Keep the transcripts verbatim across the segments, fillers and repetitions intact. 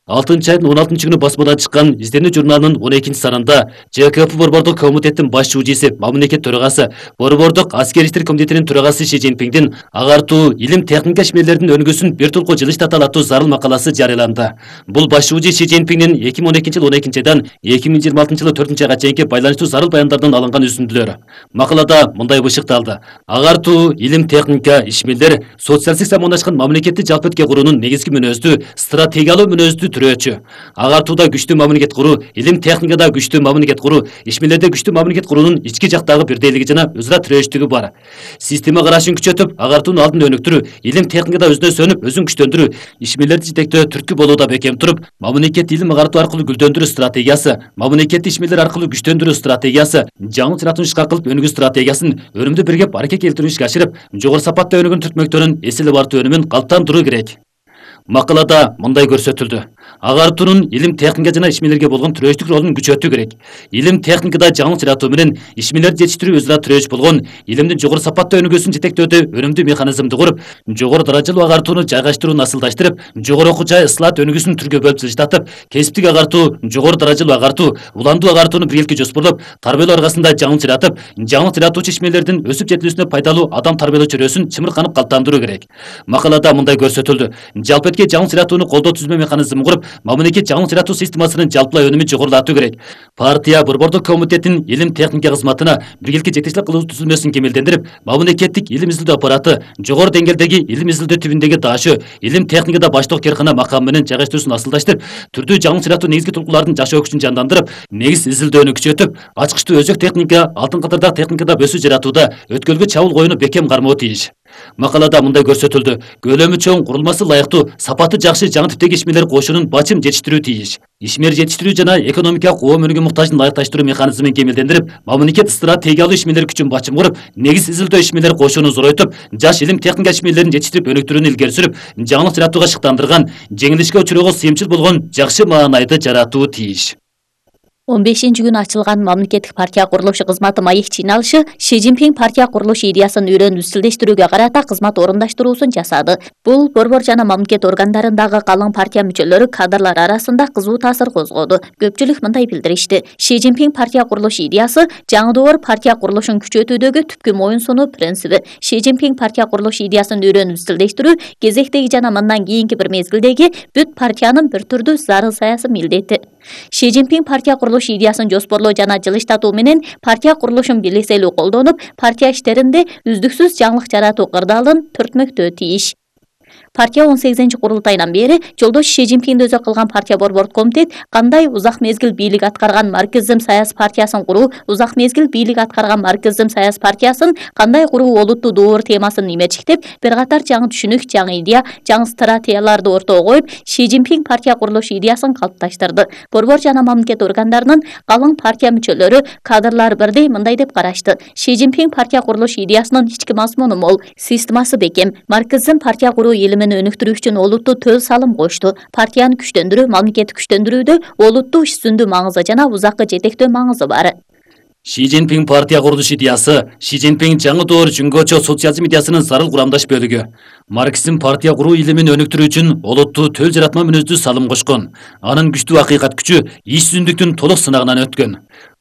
алтынчы айдын он алтынчы күнү басмадан чыккан «Изденүү» журналынын он экинчи санында ЖКП Борбордук комитеттин баш шүүжүсү, мамлекет төрагасы, Борбордук аскер иштер комитетинин төрагасы Ши Цзиньпиңдин агартуу илим техника ишмерлеринин өнүгүүсүн бир толку жылыштата аттуу зарыл макаласы жарыяланды. Бул баш шүүжү Ши Цзиньпиңдин эки миң он экинчи жылы он экинчи айдан эки миң жыйырма алтынчы жылы төртүнчү айга чейинки байланыштуу зарыл баяндардан алынган үзүндүлөр. Макалада мындай бышыкталды: агартуу илим техника ишмерлер социалисттик замандашкан мамлекетти жалпы куруунун негизги мүнөздүү стратегиялуу мүнөздүү түрөөчү. Агартууда күчтүү мамлекет куруу, илим техникада күчтүү мамлекет куруу, ишмерлерде күчтүү мамлекет куруунун ички жактагы бирдейлиги жана өзара тирөөчтүгү бар. Система карашын күчөтүп, агартуунун алдын өнүктүрүү, илим техникада өзүнө сөнүп, өзүн күчтөндүрүү, ишмерлерди жетектөө түрткү болууда бекем туруп, мамлекет илим агартуу аркылуу гүлдөндүрүү стратегиясы, мамлекетти ишмерлер аркылуу күчтөндүрүү стратегиясы, жаңы чыратууну ишке кылып өнүгүү стратегиясын өрүмдү биргеп аракет келтирүү ишке ашырып, жогору сапатта өнүгөн түртмөктөрүн эселеп артуу өнүмүн калыптандыруу керек. Макалада мындай көрсөтүлдү: агартуунун илим техника жана ишмерлерге болгон тирөөчтүк ролун күчөтүү керек. Илим техникада жаңы чыратуу менен ишмерлерди жетиштирүү өзара тирөөч болгон илимдин жогору сапатта өнүгүүсүн жетектөөдө өнүмдүү механизмди куруп, жогору даражалуу агартууну жайгаштырууну асылдаштырып, жогору окуу жай ысылат өнүгүүсүн түргө бөлүп жылыштатып, кесиптик агартуу, жогору даражалуу агартуу, уландуу агартууну биргеликке жоспорлоп, тарбиялоо аркасында жаңы чыратып, жаңы чыратуучу ишмерлердин өсүп жетилүүсүнө пайдалуу адам тарбиялоо чөйрөсүн чымырканып калыптандыруу керек. Макалада мындай көрсөтүлдү: жалпы этке жаңы чыратууну колдоо түзмө механизмин куруп, мамлекет жаңы чыратуу системасынын жалпылай өнүмүн жогорулатуу керек. Партия Борбордук комитеттин илим техника кызматына биргеликке жетекчилик кылуу түзүлмөсүн кемелдендирип, мамлекеттик илим изилдөө аппараты, жогору деңгээлдеги илим изилдөө тибиндеги дашы, илим техникада баштык керкана макамы менен жайгаштыруусун асылдаштырып, түрдүү жаңы чыратуу негизги толкуулардын жашоо күчүн жандандырып, негиз изилдөөнү күчөтүп, ачкычтуу өзөк техника, алтын катардагы техникада бөсүү жаратууда өткөлгө чабуул коюуну бекем кармоо тийиш. Макалада мындай көрсөтүлдү: көлөмү чоң, курулмасы ылайыктуу, сапаты жакшы жаңы типтеги ишмерлер кошунун бачым жетиштирүү тийиш. Ишмер жетиштирүү жана экономикалык коом өнүгүү муктажын ылайыкташтыруу механизмин кемелдендирип, мамлекет стратегиялуу ишмерлер күчүн бачым куруп, негиз изилдөө ишмерлер кошууну зоройтуп, жаш илим техника ишмерлерин жетиштирип өнүктүрүүнү илгери сүрүп, жаңы чыратууга шыктандырган, жеңилишке учуроого сыйымчыл болгон жакшы маанайды жаратуу тийиш. он бешинчи күнү ачылган мамлекеттик партия курулушу кызматы маек жыйналышы Ши Цзиньпиң партия курулуш идеясын үйрөнүп изилдештирүүгө карата кызмат орундаштыруусун жасады. Бул борбор жана мамлекет органдарындагы калың партия мүчөлөрү кадрлар арасында кызуу таасир козгоду. Көпчүлүк мындай билдиришти: Ши Цзиньпиң партия курулуш идеясы жаңы партия курулушун күчөтүүдөгү түпкү моюн сунуу принциби. Ши Цзиньпиң партия курулуш идеясын үйрөнүп изилдештирүү кезектеги жана мындан кийинки бир мезгилдеги бүт партиянын бир түрдүү зарыл саясий милдети. Ши Цзиньпиң партия курулуш идеясын жоспорлоо жана жылыштатуу менен партия курулушун бийликселүү колдонуп, партия иштеринде үздүксүз жаңылык жаратуу кырдаалын төртмөктөө тийиш. Партия он сегизинчи курултайынан бери жолдош Ши Цзиньпиңди өзү кылган партия борбордук комитет кандай узак мезгил бийлик аткарган марксизм саясий партиясын куруу, узак мезгил бийлик аткарган марксизм саясий партиясын кандай куруу олуттуу доор темасын имечиктеп, бир катар жаңы түшүнүк, жаңы идея, жаңы стратегияларды ортого коюп, Ши Цзиньпиң партия курулуш идеясын калыпташтырды. Борбор жана мамлекет органдарынын калың партия мүчөлөрү, кадрлар бирдей мындай деп карашты: Ши Цзиньпиң партия курулуш идеясынын ички мазмуну мол, системасы бекем, марксизм партия куруу илимин өнүктүрүү үчүн олуттуу төл салым кошту. Партияны күчтөндүрүү, мамлекетти күчтөндүрүүдө олуттуу иш жүзүндүү маңызы жана узакка жетектөө маңызы бар. Ши Цзиньпиң партия курулуш идеясы Ши Цзиньпиң жаңы доор жүнгөчө социализм идеясынын зарыл курамдаш бөлүгү. Марксизм партия куруу илимин өнүктүрүү үчүн олуттуу төл жаратма мүнөздүү салым кошкон. Анын күчтүү акыйкат күчү иш жүзүндүктүн толук сынагынан өткөн.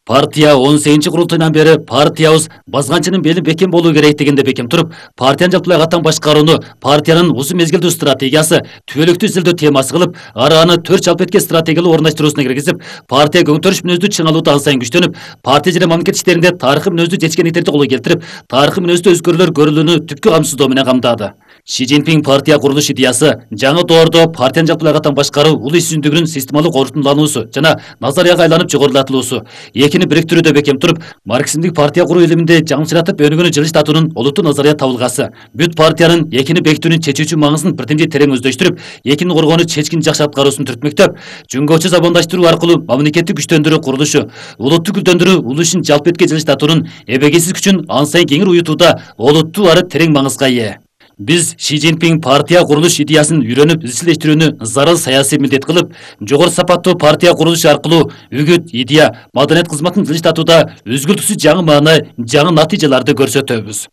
Партия он сегизинчи курултайынан бери партиябыз базганчынын бели бекем болуу керек дегенде бекем туруп, партиянын жалпылай катан башкарууну партиянын узун мезгилдүү стратегиясы, түбөлүктүү изилдөө темасы кылып, ара аны төрт жалпы этке стратегиялуу орундаштыруусуна киргизип, партия көңтөрүш мүнөздүү чыңалууда ан сайын күчтөнүп, партия жана мамлекет иштеринде тарыхый мүнөздүү жетишкендиктерди колго келтирип, тарыхый мүнөздүү өзгөрүүлөр көрүлүүнү түпкү камсыздоо менен камдады. Ши Цзиньпиң партия курулуш идеясы жаңы доордо партиянын жалпылай катан башкаруу улуу иш жүзүндүгүнүн системалык орутундалуусу жана назарияга айланып жогорулатылуусу, экини бириктирүүдө бекем туруп, марксизмдик партия куруу илиминде жаңычыратып өнүгүүнү жылыштатуунун олуттуу назария табылгасы, бүт партиянын экини бекитүүнүн чечүүчү маңызын бирдемдей терең өздөштүрүп, экини коргоону чечкин жакшы аткаруусун түртмөктөп, жүнгөчө замандаштыруу аркылуу мамлекетти күчтөндүрүү курулушу, улутту гүлдөндүрүү, улуу ишин жалпы этке жылыштатуунун эбегейсиз күчүн ан сайын кеңир уютууда олуттуу ары терең маңызга ээ. Биз Ши Цзиньпиң партия курулуш идеясын үйрөнүп изилдештирүүнү зарыл саясий милдет кылып, жогору сапаттуу партия курулушу аркылуу үгүт, идея, маданият кызматын жылыштатууда үзгүлтүксүз жаңы маана, жаңы натыйжаларды көрсөтөбүз.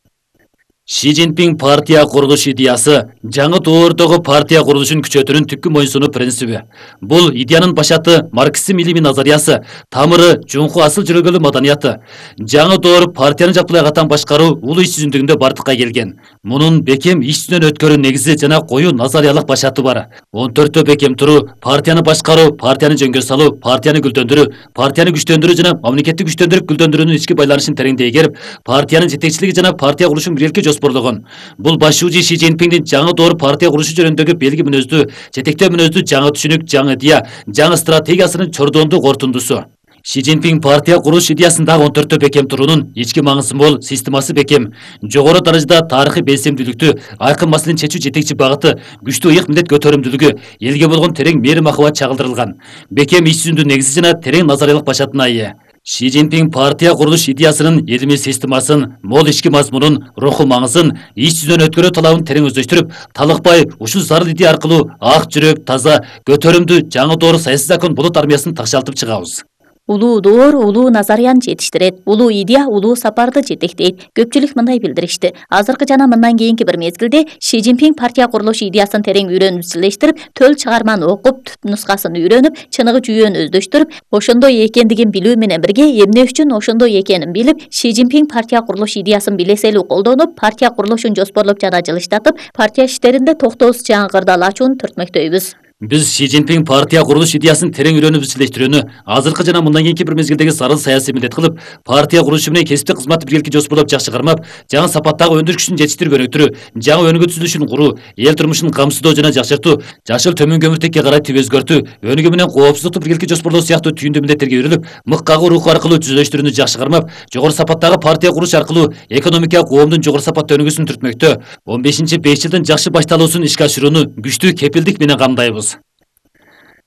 Ши Цзиньпин партия курулуш идеясы жаңы доордогу партия курулушун күчөтүүнүн түпкү моюнсунуу принциби. Бул идеянын башаты марксизм илимий назариясы, тамыры жунку асыл жүрөгөлүү маданияты. Жаңы доор партияны жаппай катан башкаруу улуу иш жүзүндөгүндө бардыкка келген. Мунун бекем иш жүзүнөн өткөрүү негизи жана коюу назариялык башаты бар. он төрттөө бекем туруу, партияны башкаруу, партияны жөнгө салуу, партияны гүлдөндүрүү, партияны күчтөндүрүү жана мамлекетти күчтөндүрүп гүлдөндүрүүнүн ички байланышын тереңдей игерип, партиянын жетекчилиги жана партия курулушун биргеликке жоспорлогон. Бул башчуучу Ши Цзиньпиндин жаңы доор партия курушу жөнүндөгү белги мүнөздүү, жетектөө мүнөздүү жаңы түшүнүк, жаңы идея, жаңы стратегиясынын чордондуу кортундусу. Ши Цзиньпин партия курулуш идеясындагы он төрттөө бекем туруунун ички маңызы мол, системасы бекем, жогору даражада тарыхый белсемдүүлүктү, айкын маселени чечүү жетекчи багыты, күчтүү ыйык милдет көтөрүмдүүлүгү, элге болгон терең мээри махабат чагылдырылган. Бекем иш жүзүндүү негизи жана терең назариялык башатына ээ. Ши Цзиньпин партия курулуш идеясынын илимий системасын, мол ички мазмунун, руху маңызын, иш жүзүнөн өткөрүү талабын терең өздөштүрүп, талыкпай ушул зарыл идея аркылуу ак жүрөк, таза, көтөрүмдүү жаңы доор саясий закон болот армиясын такшалтып чыгабыз. Улуу доор улуу назарияны жетиштирет, улуу идея улуу сапарды жетектейт. Көпчүлүк мындай билдиришти. Азыркы жана мындан кийинки бир мезгилде Ши Цзиньпин партия курулуш идеясын терең үйрөнүп изчилештирип, төл чыгарманы окуп, түп нускасын үйрөнүп, чыныгы жүйөнү өздөштүрүп, ошондой экендигин билүү менен бирге эмне үчүн ошондой экенин билип, Ши Цзиньпин партия курулуш идеясын билеселүү колдонуп, партия курулушун жоспорлоп жана жылыштатып, партия иштеринде токтоосуз жаңы ачууну түртмөктөйбүз. Биз Ши Цзиньпин партия курулуш идеясын терең үйрөнүп изчилештирүүнү азыркы жана мындан кийинки бир мезгилдеги зарыл саясий милдет кылып, партия курулушу менен кесиптик кызматты биргеликке жоспорлоп жакшы кармап, жаңы сапаттагы өндүрүш күчүн жетиштирип өнүктүрүү, жаңы өнүгүү түзүлүшүн куруу, эл турмушун камсыздоо жана жакшыртуу, жашыл төмөн көмүртекке карай түп өзгөртүү, өнүгүү менен коопсуздукту биргеликке жоспорлоо сыяктуу түйүндүү милдеттерге үйрүлүп, мык кагуу руху аркылуу түзүлүштүрүүнү жакшы кармап, жогору сапаттагы партия куруш аркылуу экономика коомдун жогору сапатта өнүгүүсүн түртмөктө, он бешинчи беш жылдын жакшы башталуусун ишке ашырууну күчтүү кепилдик менен камдайбыз.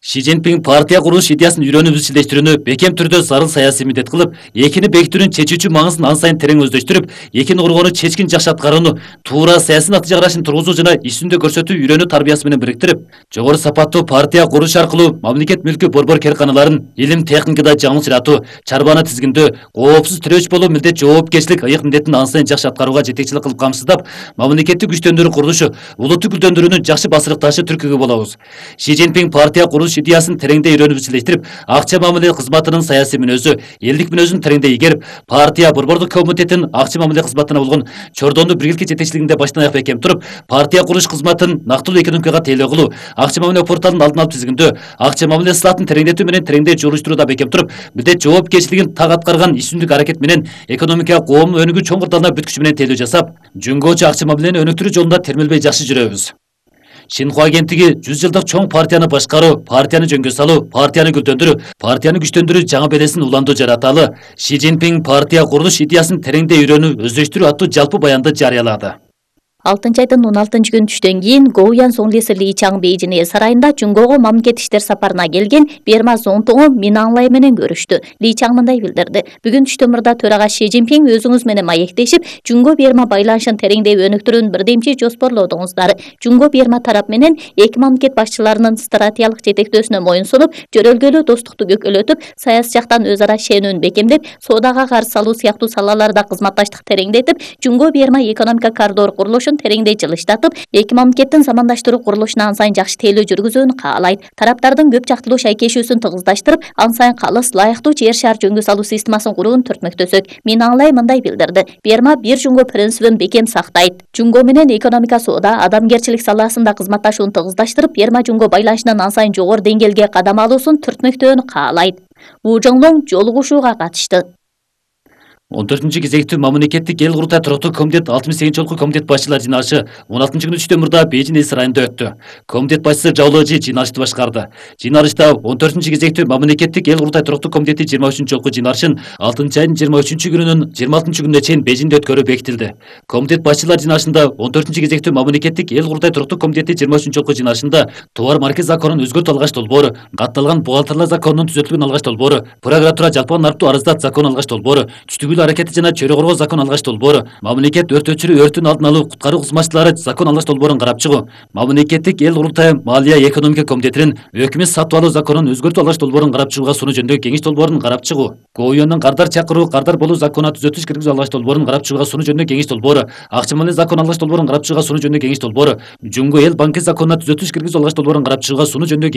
Ши Цзиньпин партия курулуш идеясын үйрөнүп изчилештирүүнү бекем түрдө зарыл саясий милдет кылып, экини бекитүүнүн чечүүчү маңызын ан сайын терең өздөштүрүп, экини коргоону чечкин жакшы аткарууну, туура саясий натыйжа карашын тургузуу жана иш жүзүндө көрсөтүү үйрөнүү тарбиясы менен бириктирип, жогору сапаттуу партия куруш аркылуу мамлекет мүлкү борбор керканаларын илим техникада жаңылчыратуу, чарбаны тизгиндөө, коопсуз тирөөч болуу милдет жоопкерчилик ыйык милдетин ан сайын жакшы аткарууга жетекчилик кылып камсыздап, мамлекетти күчтөндүрүү курулушу, улутту гүлдөндүрүүнүн жакшы басырыкташы түркүгү болобуз. Ши Цзиньпин партия курулуш идеясын тереңдей үйрөнүп изчилештирип, акча мамиле кызматынын саясий мүнөзү, элдик мүнөзүн тереңдей игерип, партия борбордук комитеттин акча мамиле кызматына болгон чордондуу биргеликке жетекчилигинде баштан аяк бекем туруп, партия курулуш кызматын нактылуу экономикага тейлөө кылуу, акча мамиле порталын алдын алып тизгиндөө, акча мамиле сылатын тереңдетүү менен тереңдей жолуштурууда бекем туруп, милдет жоопкерчилигин так аткарган иш жүзүндүк аракет менен экономика коомдун өнүгүү чоң кырдаалына бүт күч менен тейлөө жасап, жөнгөчү акча мамилени өнүктүрүү жолунда термелбей жакшы жүрөбүз. Шинхуа агенттиги жүз жылдык чоң партияны башкаруу, партияны жөнгө салуу, партияны гүлдөндүрүү, партияны күчтөндүрүү жаңы белесин уланды жараталы. Ши Цзиньпин партия курулуш идеясын тереңдей үйрөнүү, өздөштүрүү аттуу жалпы баянды жарыялады. алтынчы айдын он алтынчы күнү түштөн кийин Гоуян Сонглиси Ли Чаң Бейжин эл сарайында Жунгого мамлекет иштер сапарына келген Берма Зонтоңу Мин Аң Лай менен көрүштү. Ли Чаң мындай билдирди: бүгүн түштөмүрдө төрага Ши Цзиньпин өзүңүз менен маектешип, Жунго Берма байланышын тереңдей өнүктүрүүнүн бирдемчи жоспорлодуңуздар. Жунго Берма тарап менен эки мамлекет башчыларынын стратегиялык жетектөөсүнө моюн сунуп, жөрөлгөлүү достукту көкөлөтүп, саясий жактан өз ара ишенүүнү бекемдеп, соодага каршы салуу сыяктуу салаларда кызматташтык тереңдетип, Жунго Берма экономика коридор курулушун тереңдей жылыштатып, эки мамлекеттин замандаштыруу курулушуна ан сайын жакшы тейлөө жүргүзүүнү каалайт. Тараптардын көп жактылуу шайкешүүсүн тыгыздаштырып, ан сайын калыс, лайыктуу жер шаар жөнгө салуу системасын курууну түртмөктөсөк. Мин Аң Лай мындай билдирди: Берма бир Жунго принцибин бекем сактайт. Жунго менен экономика, соода, адамгерчилик саласында кызматташууну тыгыздаштырып, Берма Жунго байланышынын ан сайын жогору деңгээлге кадам алуусун түртмөктөөнү каалайт. Ву Жоңлоң жолугушууга катышты. он төртүнчү кезектүү мамлекеттик эл курултай туруктуу комитет алтымыш сегизинчи жолку комитет башчылар жыйналышы он алтынчы күнү түштөмүрдө Бейжин эл сарайында өттү. Комитет башчысы Жао Лежи жыйналышты башкарды. Жыйналышта он төртүнчү кезектүү мамлекеттик эл курултай туруктуу комитети жыйырма үчүнчү жолку жыйналышын алтынчы айдын жыйырма үчүнчү күнүнөн жыйырма алтынчы күнүнө чейин Бейжинде өткөрүү бекитилди. Комитет башчылар жыйналышында он төртүнчү кезектүү мамлекеттик эл курултай туруктуу комитети жыйырма үчүнчү жолку жыйналышында товар марка законун өзгөртүү алгач долбоору, катталган бухгалтерлер законунун түзөтүлгөн алгач долбоору, прокуратура жалпыга нарыктуу арыздат закону алгач долбоору, түштүгүйлүү өткөрүү аракети жана чөйрө коргоо закон алгаш долбоору, мамлекет өрт өчүрүү өрттүн алдын алуу куткаруу кызматчылары закон алгаш долбоорун карап чыгуу, мамлекеттик эл курултайы Малия экономика комитетинин өкмөт сатып алуу законун өзгөртүү алгаш долбоорун карап чыгууга сунуу жөнүндөгү кеңеш долбоорун карап чыгуу, КОЮнун кардар чакыруу, кардар болуу законуна түзөтүш киргизүү алгаш долбоорун карап чыгууга сунуу жөнүндөгү кеңеш долбоору, акча маалият закон алгаш долбоорун карап чыгууга сунуу жөнүндөгү кеңеш долбоору, Жумго эл банки законуна түзөтүш киргизүү алгаш долбоорун карап чыгууга сунуу жөнүндөгү